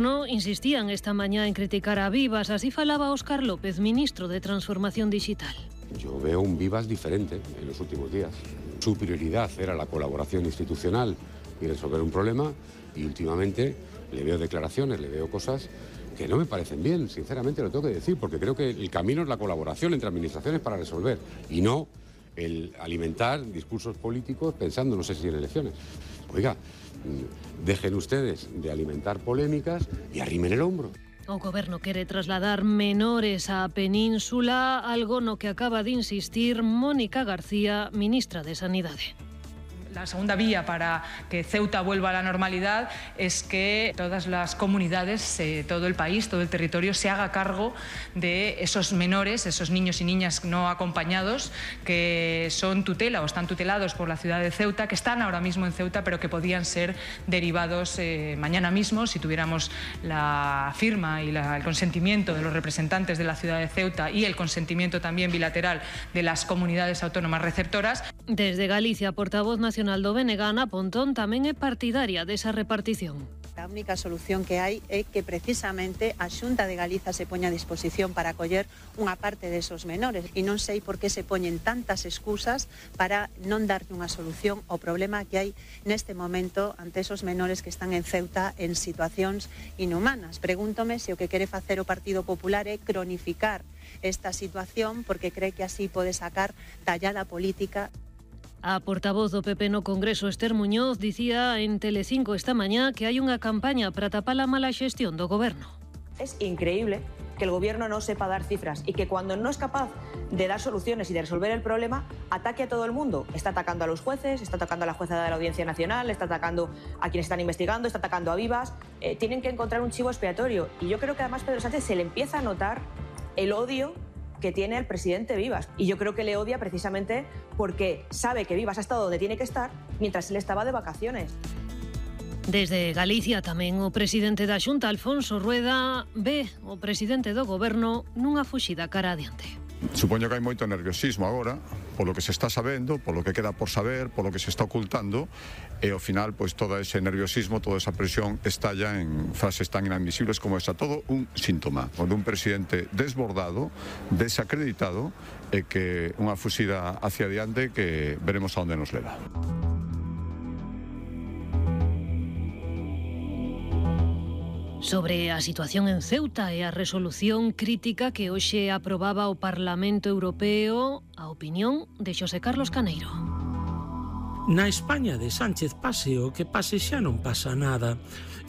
No insistían esta mañá en criticar a Vivas, así falaba Óscar López, ministro de Transformación Digital. Yo veo un Vivas diferente en los últimos días. Su prioridad era la colaboración institucional y resolver un problema, y últimamente le veo declaraciones, le veo cosas que no me parecen bien, sinceramente lo tengo que decir, porque creo que el camino es la colaboración entre administraciones para resolver, y no el alimentar discursos políticos pensando no sé si en elecciones. Oiga, dejen ustedes de alimentar polémicas y arrimen el hombro. O Goberno quere trasladar menores á Península, algo no que acaba de insistir Mónica García, ministra de Sanidade. La segunda vía para que Ceuta vuelva a la normalidad es que todas las comunidades, todo el país, todo el territorio se haga cargo de esos menores, esos niños y niñas no acompañados que son tutela o están tutelados por la ciudad de Ceuta, que están ahora mismo en Ceuta, pero que podían ser derivados mañana mismo si tuviéramos la firma y el consentimiento de los representantes de la ciudad de Ceuta y el consentimiento también bilateral de las comunidades autónomas receptoras. Desde Galicia, portavoz nacional do BNG, Ana Pontón, tamén é partidaria desa repartición. A única solución que hai é que precisamente a Xunta de Galiza se poña a disposición para acoller unha parte desos menores, e non sei por que se poñen tantas excusas para non darlle unha solución ao problema que hai neste momento ante esos menores que están en Ceuta en situacións inhumanas. Pregúntome se o que quere facer o Partido Popular é cronificar esta situación porque cree que así pode sacar tallada política. A portavoz do PP no Congreso, Esther Muñoz, dicía en Telecinco esta mañá que hai unha campaña para tapar a mala xestión do Goberno. Es increíble que el Gobierno no sepa dar cifras y que cuando no es capaz de dar soluciones y de resolver el problema, ataque a todo el mundo. Está atacando a los jueces, está atacando a la jueza de la Audiencia Nacional, está atacando a quienes están investigando, está atacando a Vivas. Tienen que encontrar un chivo expiatorio. Y yo creo que además Pedro Sánchez se le empieza a notar el odio que tiene el presidente Vivas. Y yo creo que le odia precisamente porque sabe que Vivas ha estado donde tiene que estar mientras él estaba de vacaciones. Desde Galicia tamén o presidente da Xunta, Alfonso Rueda, ve o presidente do Goberno nunha fuxida cara adiante. Supoño que hai moito nerviosismo agora, polo que se está sabendo, polo que queda por saber, polo que se está ocultando, e ao final, pois, todo ese nerviosismo, toda esa presión estalla en frases tan inadmisibles como esa. Todo un síntoma dun presidente desbordado, desacreditado, e que unha fuxida hacia adiante que veremos a onde nos leva. Sobre a situación en Ceuta e a resolución crítica que hoxe aprobaba o Parlamento Europeo, a opinión de Xosé Carlos Caneiro. Na España de Sánchez pase o que pase xa non pasa nada.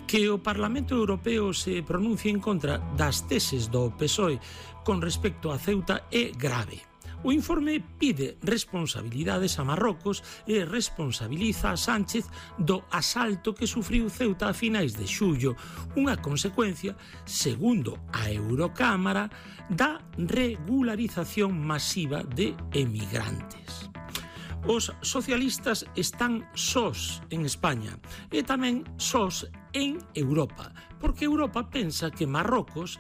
Que o Parlamento Europeo se pronuncie en contra das teses do PSOE con respecto a Ceuta é grave. O informe pide responsabilidades a Marrocos e responsabiliza a Sánchez do asalto que sufriu Ceuta a finais de xullo, unha consecuencia, segundo a Eurocámara, da regularización masiva de emigrantes. Os socialistas están sós en España e tamén sós en Europa, porque Europa pensa que Marrocos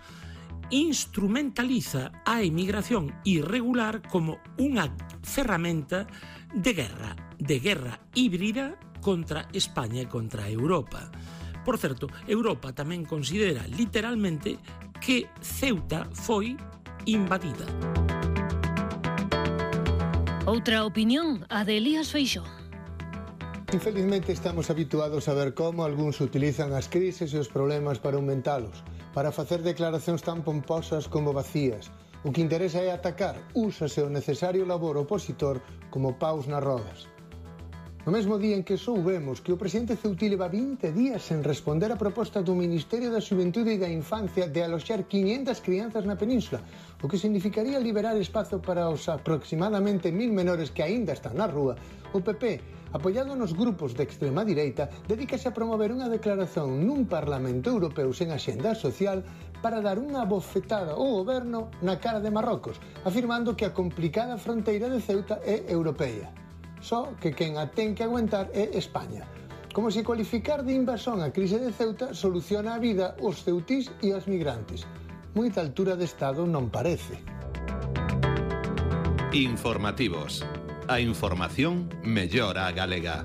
instrumentaliza a emigración irregular como unha ferramenta de guerra híbrida contra España e contra Europa. Por certo, Europa tamén considera literalmente que Ceuta foi invadida. Outra opinión, a de Elías Feixóo. Infelizmente estamos habituados a ver como algúns utilizan as crises e os problemas para aumentalos, para facer declaracións tan pomposas como vacías. O que interesa é atacar, úsase o necesario labor opositor como paus nas rodas. No mesmo día en que soubemos que o presidente ceutí leva 20 días sen responder a proposta do Ministerio da Xuventude e da Infancia de aloxar 500 crianzas na península, o que significaría liberar espazo para os aproximadamente 1000 menores que aínda están na rúa, o PP, apoiado nos grupos de extrema direita, dedícase a promover unha declaración nun Parlamento Europeo sen axenda social para dar unha bofetada ao goberno na cara de Marrocos, afirmando que a complicada fronteira de Ceuta é europea. Só que quen a ten que aguantar é España. Como se cualificar de invasón a crise de Ceuta soluciona a vida aos ceutís e aos migrantes. Moita altura de Estado non parece. Informativos. A información mellora a galega.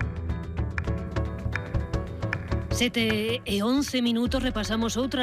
7:11 repasamos outra